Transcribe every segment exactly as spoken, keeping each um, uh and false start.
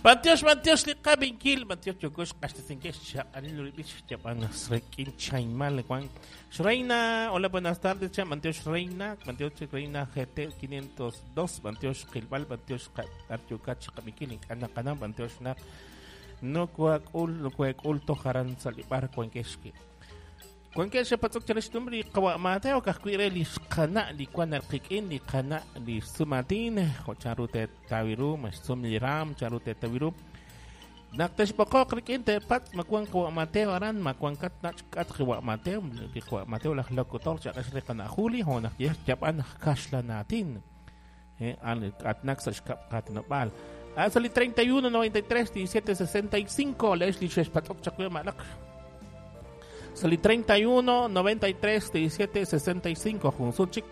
Bantiox, bantiox li qabinkil, bantiox yokox q'axtesinkex xaq'alil rib'ich yaban srekin chaymal Juan. Reina, hola, buenas tardes, chan, bantiox Reina, bantiox Reina G T quinientos dos, bantiox Qilbal, bantiox Artyukach qabinkil, ink'ana qanam, bantiox naq no kuakul, no kuakul tojaran salibar kuankexki. Kuankex patzok chalex tumri qawa Mateo kajkuire li xqana li kuan alqikin li qana li sumatin jocharute tawiru masum liram charute tawiru naqtex poqoq rikin te pat makuan qawa Mateo aran makuan kat nach kat qawa Mateo li qawa Mateo laj locutor chaqax li qana Juli honaq yeh yapan kaxlanatin eh al atnak sa xkap qatnobal Asali treinta y uno noventa y tres diecisiete sesenta y cinco Leslie xex patzok chaqwe malaq Sali treinta y uno noventa y tres diecisiete sesenta y cinco Junsuchik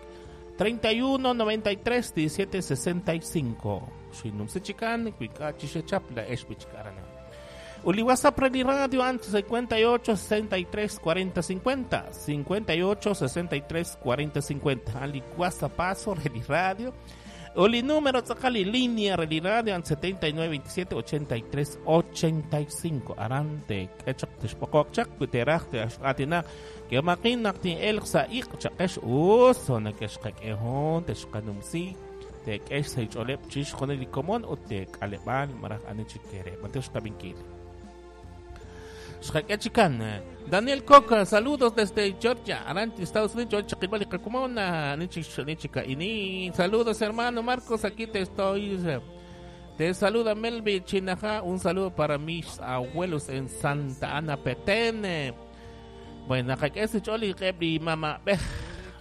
treinta y uno noventa y tres diecisiete sesenta y cinco Xinumsichikan Kuikachi Xechapla Eshbichkarana Uli WhatsApp Reli Radio antes cincuenta y ocho sesenta y tres cuarenta cincuenta cincuenta y ocho sesenta y tres cuarenta cincuenta Ali WhatsApp paso Reli Radio Oli número tzakali línea Reli Radio setenta y nueve veintisiete ochenta y tres ochenta y cinco arante kechak tishpokokchak kuteraj te atina que makin nakti el xaiq chakesh uso nakeshkak ehon teshkanumsi te kesh seicholep chish joneli komon o te kalebal maraj anichikere mantesh kabinkil Xaquechican Daniel Coca, saludos desde Georgia, Arante, Estados Unidos, Georgia, Quibali, Cacumona, Nichica, Ini. Saludos, hermano Marcos, aquí te estoy. Te saluda Melvi Chinaja, un saludo para mis abuelos en Santa Ana, Petén. Bueno, ese choli, Kebri, mamá, bej.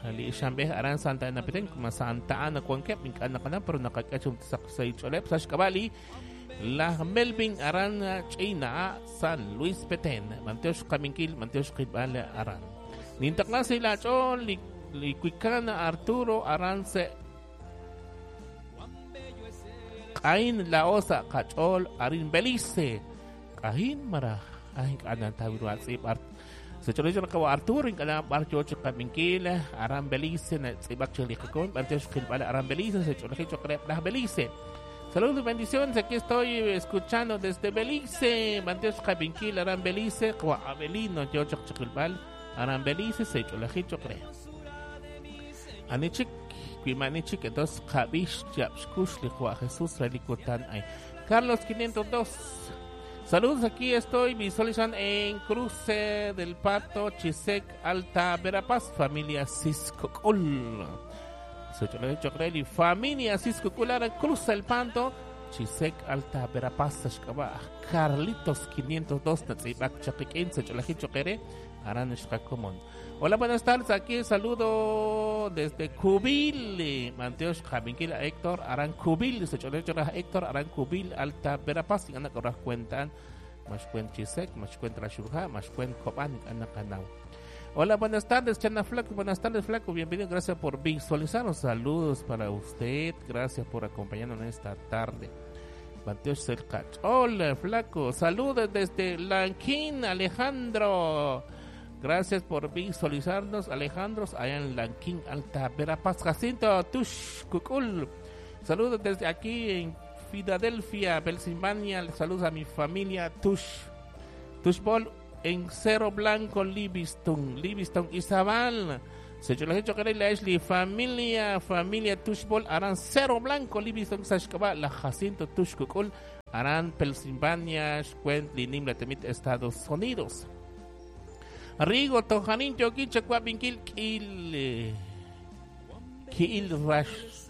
Ali Shambeh, Aran Santa Ana, Petén, como Santa Ana, Cuanquep, Incana, Cana, pero Nakakachum, Saxay, Cholep, Sashkabali. La Melvin Aran China San Luis Petén Manteosh Kaminkil Manteosh Kibal Aran Nintaklasi la Chol Licuicana Arturo Arance Kain La Osa Kachol Arin Belice Kain Mara Ay kanan tawiru atsib art Se chole chole Arturo in kana barcho Kaminkil Aran Belice na tsibak chole kakon Manteosh Kibal Aran Belice se chole chole la Belice. Saludos y bendiciones, aquí estoy escuchando desde Belice, Manteos Cabinquil, Aran Belice, Abelino, Yochok Chikilbal, Aran Belice, Seicholajicho, creo. Anichik, Kuimanichik, entonces Javish, Yapskush, Lijua Jesús, Relikutan, ay. Carlos quinientos dos. Saludos, aquí estoy visualizando en Cruce del Pato, Chisec, Alta Verapaz, familia Ciscocol. Familia Cisco Culara, Cruza el Panto, Chisec, Alta Verapaz, Xcaba, Carlitos quinientos dos, Natzibac, Chapiquín, Secholajicho Quere, Aran Xcacomón. Hola, buenas tardes, aquí saludo desde Cubil, Manteos Jaminquila, Héctor, Aran Cubil, Secholajicho Héctor, Aran Cubil, Alta Verapaz, y Ana Corras cuentan, Mashcuen Chisec, Mashcuen Trashurja, Mashcuen Copán, Ana Canau. Hola, buenas tardes, Chana Flaco. Buenas tardes, Flaco. Bienvenido. Gracias por visualizarnos. Saludos para usted. Gracias por acompañarnos en esta tarde. Mateo Selcach. Hola, Flaco. Saludos desde Lanquín, Alejandro. Gracias por visualizarnos, Alejandro. Allá en Lanquín, Alta Verapaz. Jacinto Tush Cucul. Saludos desde aquí en Filadelfia, Pensilvania. Saludos a mi familia Tush. Tushbol. En Cerro Blanco, Livingston, Livingston, Izabal. Se yo les he hecho que la Ashley, familia, familia Tushbol, Aran Cerro Blanco, Livingston, Sashkaba, la Jacinto Tushkukul, Aran, Pensilvania, Xcuentli, Nimla, Temit, Estados Unidos. Rigo, Tojanín, Yoquicha, Cuapinkil, Kil, Kil Rash,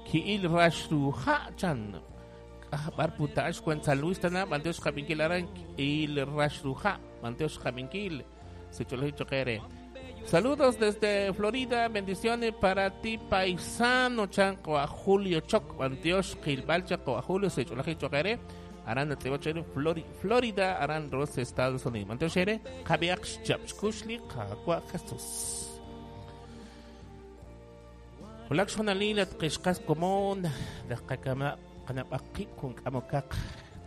Kil Rash, Ruhachan. Bar puta San Luis tana Manteos Jaminquil Aran il Rashruja Manteos Jaminquil Sechole. Saludos desde Florida, bendiciones para ti paisano chanco a Julio Choc Manteos Gilbal Chaco a Julio Sechole Choquere Aran Florida Aran Ross Estados Unidos Manteos Jere Javier Chapskushli Jacua Jesús. Hola Xonalila Qishqas Común Daqakama Kanapaki kun kamokak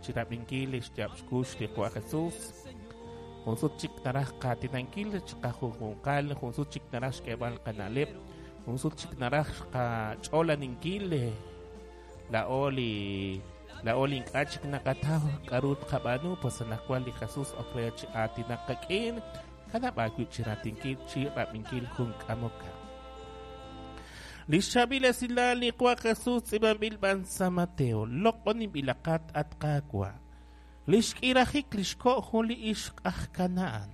chirabinkil xchapxkush liqua Jesús junsuchik naraj qatinankil chqajujunqal junsuchik naraj xk'eb'al qanaleb junsuchik naraj qach'olaninkil la oli Laa'o li ink'a' chik naqataw k'aru tqab'aanu, pues anaqwan li Jesus ok re chi aatinak qak'in, kanab' aawib' chi raatinkil chi rab'inkil jun k'amokaq. Li xchaab'il esilal li Qaawa' Jesus tz'iib'anb'il b'an San Mateo, loq'oninb'ilaqat at Qaawa'. Li xk'irajik li xko' jun li ixq aj Kanaan.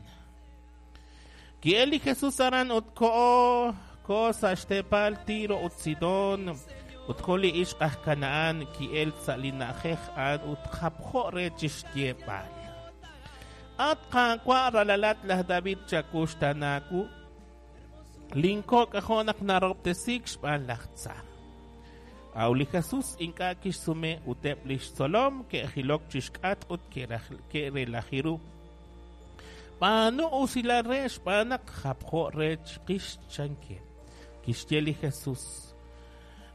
Ki'el li Jesus aran ut ko'o ko'o sa' xteepal Tiro ut Sidón, ut jun li ixq aj Kanaan ki'el sa' li na'ajej a'an ut japjo' re chi xyeeb'al. At Qaawa' ralalat laj David chakuxtanaawu, linko' k'ajo' naq narob'tesiik xb'aan laj tza. Aw li Jesus ink'a' kixsume ut eb' li xtzolom ke'jilok chi xk'atq ut ke'relaji ru. B'aanu usilal re xb'aan naq japjo' re chiqix chankeb'. Kixye li Jesus: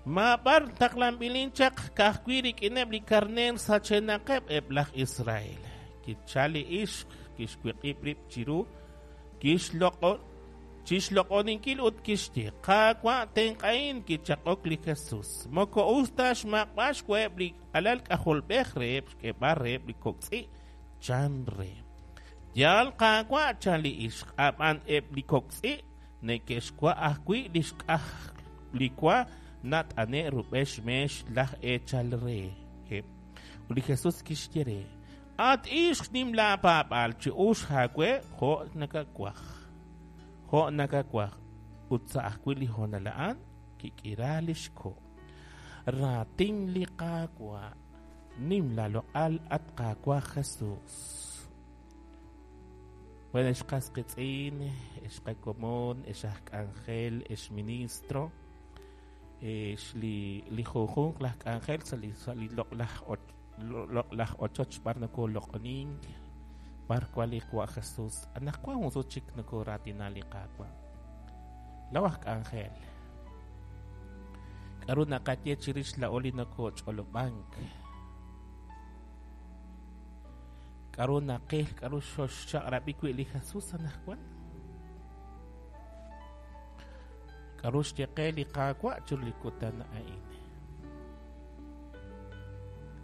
Maab'ar taqlanb'ilin chaq ka'ajwi' rik'ineb' li karneer sachenaqeb' eb' laj Israel. Kichal li ixq, kixwiq'ib' rib' chiru, kixloq'o chixloq'oninkil ut kixye: Qaawa' tenq'ahin. Kichaq'ok li Jesus: Moko us ta xmaq'b'al xwaheb' li alal k'ajolb'ej reheb' xk'eeb'al reheb' li kok' tz'i', chan re. Yaal Qaawa', chan li ixq, ab'an eb' li kok' tz'i' neke'xwa' ajwi' li xk'aj li wa nat'ane' rub'el xmeex laj eechal reheb'. Ut li Jesus kixye re: At ixq, nim laapaab'aal, chi uxq aawe jo' nakawaj. Jo' nakawaj. Ut sa' ajwi' li hoonal a'an kik'ira li xko'. Raatin li Qaawa', nim laaloq'al at Qaawa' Jesus. Bueno, ex qas qitz'in, ex qakomon, ex aj k'anjel, ex ministro, ex li li junjunq laj k'anjel sa' li sa' li loq'laj loq'laj ochoch b'ar nokoloq'onink, b'ar wan li Qaawa' Jesus. Anaqwan jun sut chik nokoraatina li Qaawa'. Law aj k'anjel, k'aru naqaye chirix laa'o li nokoch'olob'ank? K'aru naqil, k'aru xoxchaq'rab'i wi' li Jesus anaqwan? K'aru xye qe li Qaawa' chiru li kutan a'in?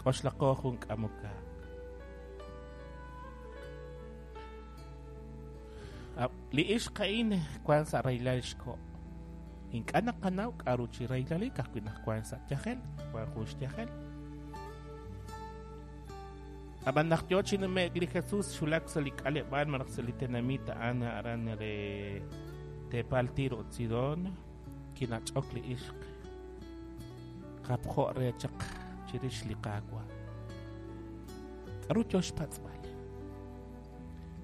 K'oxlaqo jun k'amokaq. Li ixq a'in wan sa' rahilal xko'. Ink'a' naqanaw k'aru chi rahilal ka'ajwi' naq wan sa' yajel, wan jun xyajel. Ab'an naq yo chi nume'k li Jesus xulak sa' li k'aleb'aal malaj sa' li tenamit a'an aran re teepal Tiro ut Sidón, kinach'ok li ixq japjo' re chaq chirix li Qaawa'. K'aru yo xpatz'b'al?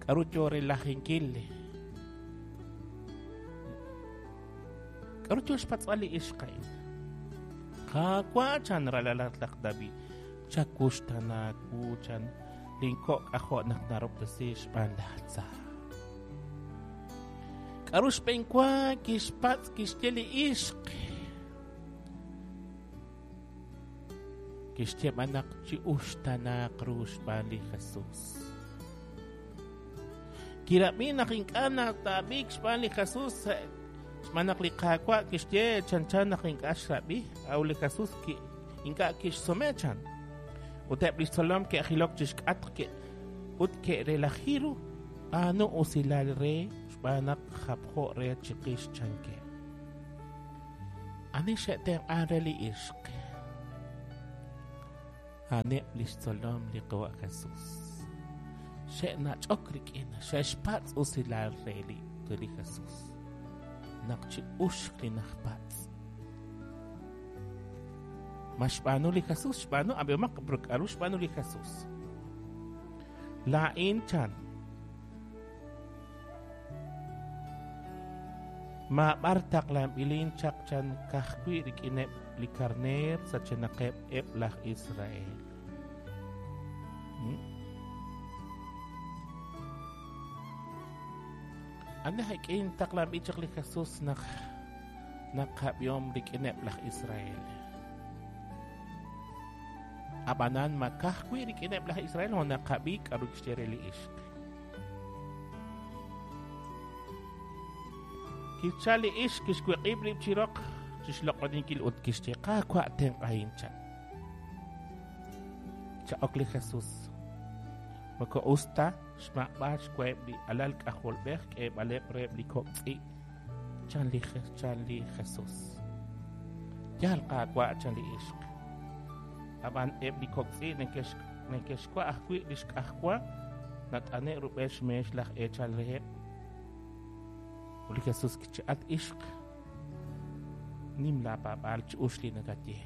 K'aru yo relajinkil? K'aru yo xpatz'b'al li ixq a'in? Qaawa' chan ralalat laj David, chakuxtanaawu chan linko' k'ajo' naq narob'tesi xb'aan laj tza. K'aru xb'eenwa kixpatz' kixye li ixq? Kixye b'an naq chi uxtanaaq ru xb'aan li Jesus. Kirab'i naq ink'a' nataab'iik xb'aan li Jesus, xb'aan naq li Qaawa' kixye chanchan naq ink'a' xrab'i, aw li Jesus ink'a' kixsume chan. Ut eb' li xtzolom ke'jilok chi xk'atq ut ke'relaji ru, b'aanu usilal re xb'aan naq japjo' re chiqix chankeb'. Ani xe'tenq'an re li ixq? A'aneb' li xtzolom li Qaawa' Jesus. Xe'nach'ok rik'in, xe'xpatz' usilal re li li Jesus. Naq chi uxq li najpatz'. Ma xb'aanu li Jesus, xb'aanu, ab'ihomaq k'aru xb'aanu li Jesus. Laa'in chan maab'ar taqlanb'ilin chaq chan ka'ajwi' rik'ineb' li karneer sachenaqeb' eb' laj Israel. Ani jek'in taqlanb'il chaq li Jesus naq naqab'ihom rik'ineb' laj Israel. Ab'anan ma ka'ajwi' rik'ineb' laj Israel o naqab'i k'aru kixye re li ixq. Kichal li ixq kixwiq'ib' rib' chi roq chi xloq'oninkil ut kixye: Qaawa' tenq'ahin chan. Kichaq'ok li Jesús. Moko us ta xmaq'b'al xwaheb' li alal k'ajolb'ej k'eeb'aleb' reheb' li kok' tz'i'. Chan li chan li Jesús. Yaal Qaawa' chan li ixq. Ab'an eb' li kok' tz'i' neke'xwa ajwi' li xk'ajwa nat'ane' rub'el xmeex laj eechal reheb'. Ut li Jesús kichaq'ok, at ixq, nim laapaab'aal chi us li nakaye.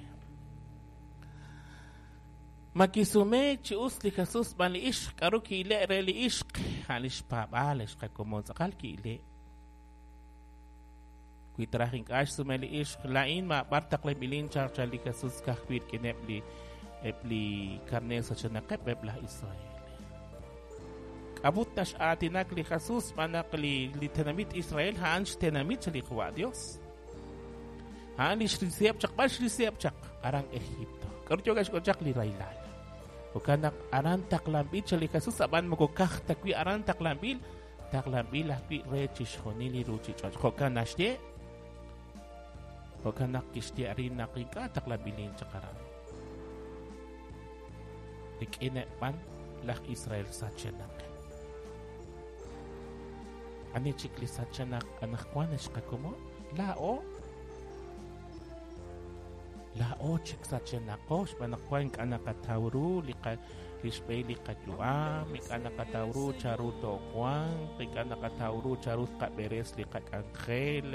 Ma kisumeek chi us li Jesús b'an li ixq, k'aru ki'ile' re li ixq, a' li xpaab'aal xqakomon tz'aqal ki'ile'. Wi traj ink'a' xsume li ixq, laa'in maab'ar taqlanb'ilin chaq chan li Jesús ka'ajwi' rik'ineb' li eb' li karneer sachenaqeb' eb' laj Israel. K'ab'ut nax'aatinak li Jesús xb'aan naq li li tenamit Israel a'an xtenamit li Qaawa' Dios. A'an li xrisiheb' chaq, b'ar xrisiheb' chaq aran Egipto. K'aru yook xk'ol chaq li rahilal. Jo'kan naq aran taqlanb'il chan li Jesús, ab'an moko kaj ta wi' aran taqlanb'il, taqlanb'il ajwi' re chixjunil li ruuchich'och'. Jo'kan naxye, jo'kan naq kixye arin naq ink'a' taqlanb'ilin chaq aran. Rik'ineb' b'an laj Israel sachenaq. Ani chik li sachenaq anaqwan xqakomon? Laa'o. Laa'o chik sachenaqo xb'aan naq wan ink'a' naqataw ru li li xb'ehil li qayu'am, ink'a' naqataw ru chanru toowanq, ink'a' naqataw ru chanru tqab'eres li qak'anjel,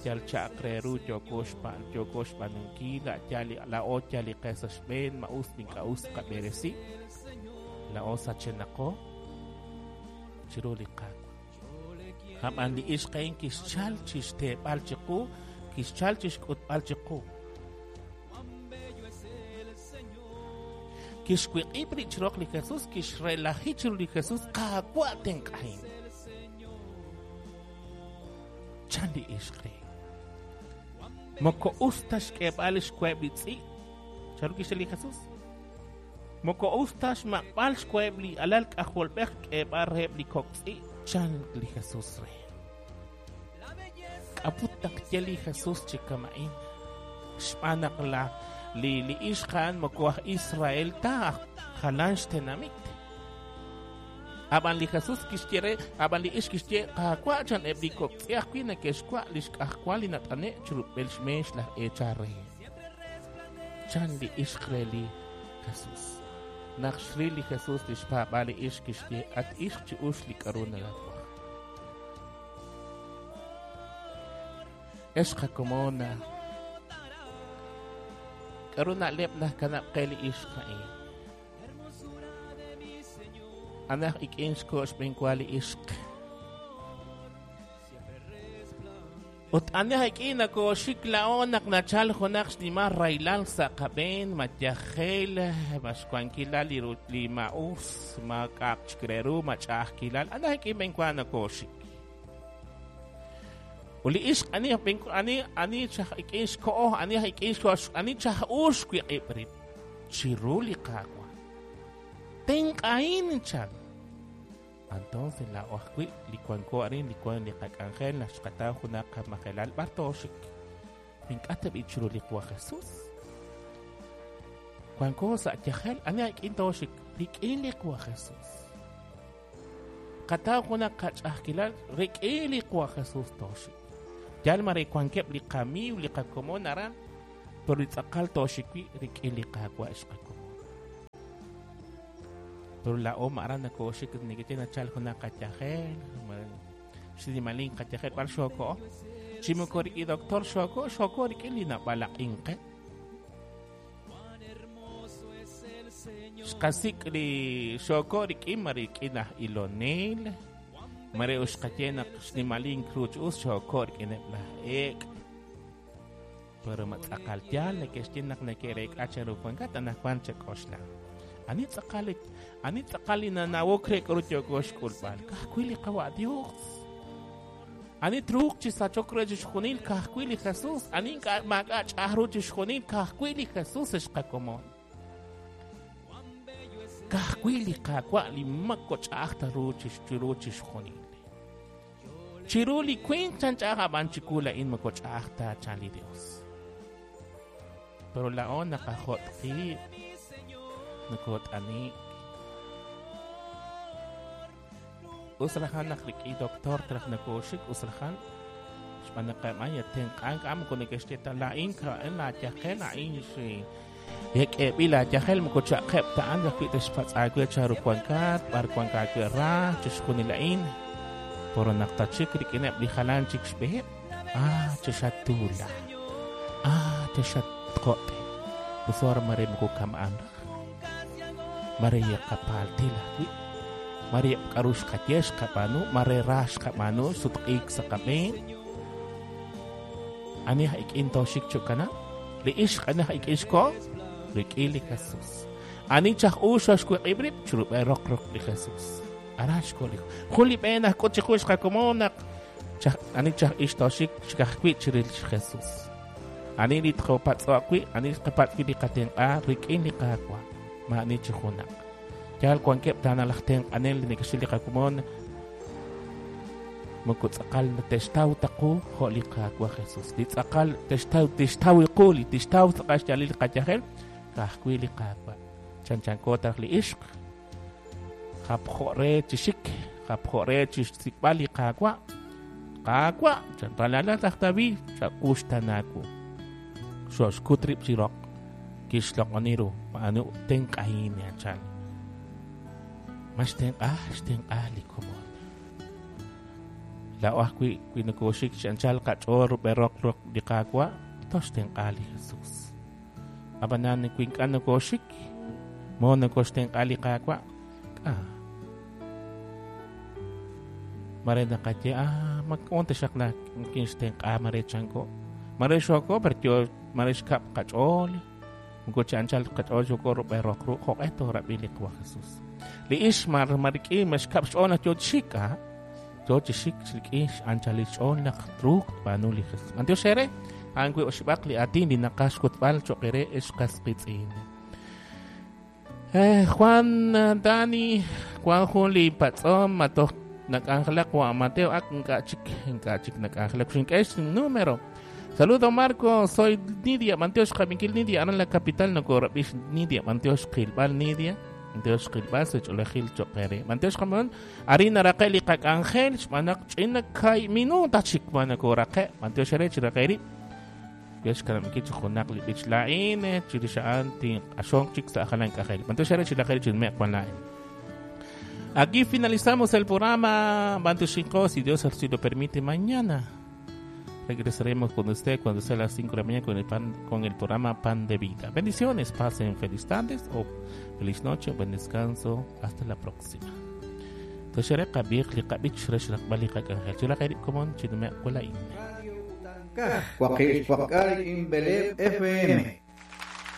yal cha'aq re ru yooko xb'aan yooko xb'aanunkil, yal laa'o yal li qe sa' xb'een, ma us ink'a' us tqab'eresi. Laa'o sachenaqo chiru li Qaawa'. Ab'an li ixq a'in kixchal chi xteeb'al chiqu, kixchal chi xk'utb'al chiqu. Kixwiq'ib' rib' chiroq li Jesús, kixrelaji chiru li Jesús, Qaawa' tenq'ahin. Chan li ixq re. Moko us ta xk'eeb'al xwaheb' li tz'i'. Chanru kixye li Jesús? Moko us ta xmaq'b'al xwaheb' li alal k'ajolb'ej k'eeb'al reheb' li kok' tz'i'. Chan li Jesús re. K'ab'ut naq ye li Jesús chi kama'in. Xb'aan naq la li li ixq a'an moko aj Israel ta, aj jalan xtenamit. Ab'an li Jesús kixye re, ab'an li ixq kixye, Qaawa' chan eb' li kok' tz'i ajwi' neke'xwa' li xk'ajwa li nat'ane' chirub'el xmeex laj eechal re. Chan li ixq re li Jesús. Naq xril li Jesús li xpaab'aal li ixq kixye, at ixq chi ux li k'aru nakawaj. Ex qakomona, k'aru na'leb' najkanab' qe li ixq a'in? Anaj ik'in xko' xb'eenwa li ixq. Ut anaj ik'in nakooxik la'o naq nachal junaq xnimal rahilal sa' qab'een, ma yajel, ma xwankilal li li ma'us, ma k'a'aq chik re ru, ma ch'a'ajkilal. Anaj ik'in b'eenwa nakooxik. Ut li ixq ani ani ani chaj ik'in xko'o, ani ik'in xko'o, ani chaj ux wiq'ib' rib' chiru li Qaawa'. Tenq'ahin chan. Entonces laa'o ajwi' li wanko arin, li wan li qak'anjel, naq xqataw junaq qamajelal b'ar tooxik. Ink'a' tab'i' chiru li Qaawa' Jesús. Wanko sa' yajel, ani ik'in tooxik, rik'in li Qaawa' Jesús. Qataw junaq qach'a'ajkilal, rik'in li Qaawa' Jesús tooxik. Yal mare wankeb' li qamiiw, li qakomon aran, pero li tz'aqal tooxik wi' rik'in li Qaawa' xqakomon. Pero laa'o aran nakooxik neke'ye nachal junaq qayajel, xnimalin qayajel b'ar xooko. Chi moko rik'in doctor xooko, xooko rik'in li nab'alaq'in qe. Xqasik' li xooko rik'in ma rik'in aj ilonel, mare uxqaye naq xnimalin kruch us xooko rik'ineb' laj ek'. Pero ma tz'aqal yaal neke'xye naq neke'reek'a chanru wankat anaqwan chak'oxla. Ani tz'aqal ani tz'aqal li nanawok re k'aru yooko xk'ulb'al, ka'ajwi' li Qaawa' Dios. Ani truuq chi sachok re chixjunil, ka'ajwi' li Jesús. Ani ink'a' maak'a' ch'a'aj ru chixjunil, ka'ajwi' li Jesús xqakomon. Ka'ajwi' li Qaawa' li mako ch'a'aj ta ru chiru chixjunil. Chiru li winq chan ch'a'aj, ab'an chiwu laa'in moko ch'a'aj ta chan li Dios. Pero laa'o naqajot' qib'. Nokot'ani usrajan naq rik'in doctor traj nakoxik usrajan xb'aan naq maya tenq'ank am moko neke'xye ta laa'in ka'en laayajel laa'in xi yek'eb'il laayajel moko cha'qeb' ta an ajwi' texpatz' aawe charu wankat b'ar wank aawe ra chixjunil a'in poro naq tachik rik'ineb' li jalan chik xb'eheb' ah chexatula ah chexatqo'te usor mare moko kam'an raj mare yaqapaltil ajwi' mare k'aru xqaye xqab'aanu mare ra xqab'aanu sutq'iik sa' qab'een ani ik'in toxik chukana li ixq ani ik'in xko rik'in li Jesús ani chaj uxo xwiq'ib' rib' chirub'e roq roq li Jesús ara xko li jun li b'een aj k'ut chiqu xqakomon naq chaj ani chaj ix toxik chikajwi' chiril Jesús ani li tqopatz'o' ani xqapatz' li qatenq'a rik'in li Qaawa' ma'ani chi junaq yal wankeb' taana laj tenq'anel li neke'xil li qakomon moko tz'aqal textaw taqu jo' li Qaawa' Jesús li tz'aqal textaw tixtaw iqu li tixtaw tz'aqal xyaalil li qayajel ka'ajwi' li Qaawa' chanchanko taraj li ixq japjo' re chi xik japjo' re chi xsik'b'al li Qaawa' Qaawa' chanralalat aj David chak'uxtanaku xoxkut rib' chi roq kixloq'oni ru ma'anu tenq'ahin anchal ma xtenq'a xtenq'a li komon la'o ajwi' wi nokoxik chi anchal qach'ool rub'e roq roq li Qaawa' toxtenq'a li Jesús ab'anan wi ink'a' nokoxik mo nokoxtenq'a li Qaawa' k'a mare naqaye ah mak'on taxaq la kinxtenq'a mare chanko mare xoko per yo mare xkab' qach'ool moko chi anchal qach'ool xoko rub'e roq ru jo'q'e toorab'i li Qaawa' Jesús li ix mar marik'in maxkab' xch'ool naq yo chi xik ah yo chi xik rik'in xanchalil xch'ool naq truuq tb'aanu li Jesús b'antiox ere a'an wi oxib'aq li aatin li naqaj xk'utb'al cho'q ere ex qas qitz'in eh Juan Dani Juan jun li patz'om matoj nak'anjelaq wa Mateo ak ink'a' chik ink'a' chik nak'anjelaq xink'e número. Saludo Marco, soy Nidia, b'antiox xqab'inkil Nidia, aran la capital nokorab'ix Nidia, b'antiox qilb'al Nidia, b'antiox qilb'al sech'olejil cho'q ere. B'antiox qamon, arin naraqe' li qak'anjel, xb'aan naq ch'ina kay minuta chik ma nakoraqe', b'antiox ere chiraqe' rib'. Yex kanab'inkil chi junaq li b'ich la'in, chirix a'an tinq'axonq chik sa' jalan k'ajel. B'antiox ere chiraqe' rib' chinmeq wan la'in. Aquí finalizamos el programa B'antioxinqo, si Dios así lo permite, mañana regresaremos con usted cuando sea las cinco de la mañana con el, pan, con el programa Pan de Vida. Bendiciones, pasen feliz tardes o feliz noche, buen descanso. Hasta la próxima. F M.